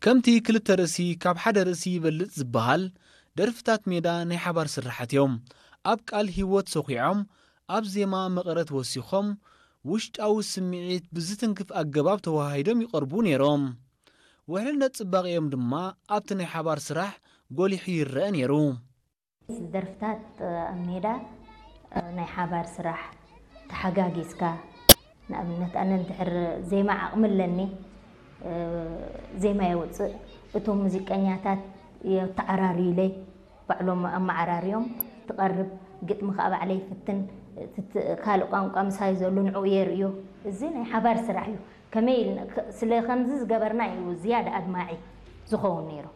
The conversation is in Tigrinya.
ከምቲ ክልተ ርእሲ ካብ ሓደ ርእሲ ይበልጽ ዝበሃል፣ ደርፍታት ሜዳ ናይ ሓባር ስርሓት እዮም። ኣብ ቃል ህይወት ሰኹዖም፣ ኣብ ዜማ መቐረት ወሲኾም፣ ውሽጣዊ ስምዒት ብዝትንክፍ ኣገባብ ተወሃሂዶም ይቐርቡ ነይሮም። ውሕልነት ጽባቐኦም ድማ ኣብቲ ናይ ሓባር ስራሕ ጎሊሑ ይረአ ነይሩ። ደርፍታት ኣብ ሜዳ ናይ ሓባር ስራሕ፣ ተሓጋጊዝካ፣ ንኣብነት ኣነ እንድሕር ዜማ ዓቕሚ ኣለኒ፣ ዜማ የውፅእ፣ እቶም ሙዚቀኛታት የተዓራርዩለይ፣ ባዕሎም ኣመዓራርዮም ትቐርብ፣ ግጥሚ ከዓ ባዕለይ ይፍትን፣ ካልእ ቋንቋ ምሳይ ዘሎ ንዕኡ የርእዮ። እዚ ናይ ሓባር ስራሕ እዩ። ከመይ ኢልና ስለ ከምዚ ዝገበርና እዩ ዝያዳ ኣድማዒ ዝኸውን ነይሩ።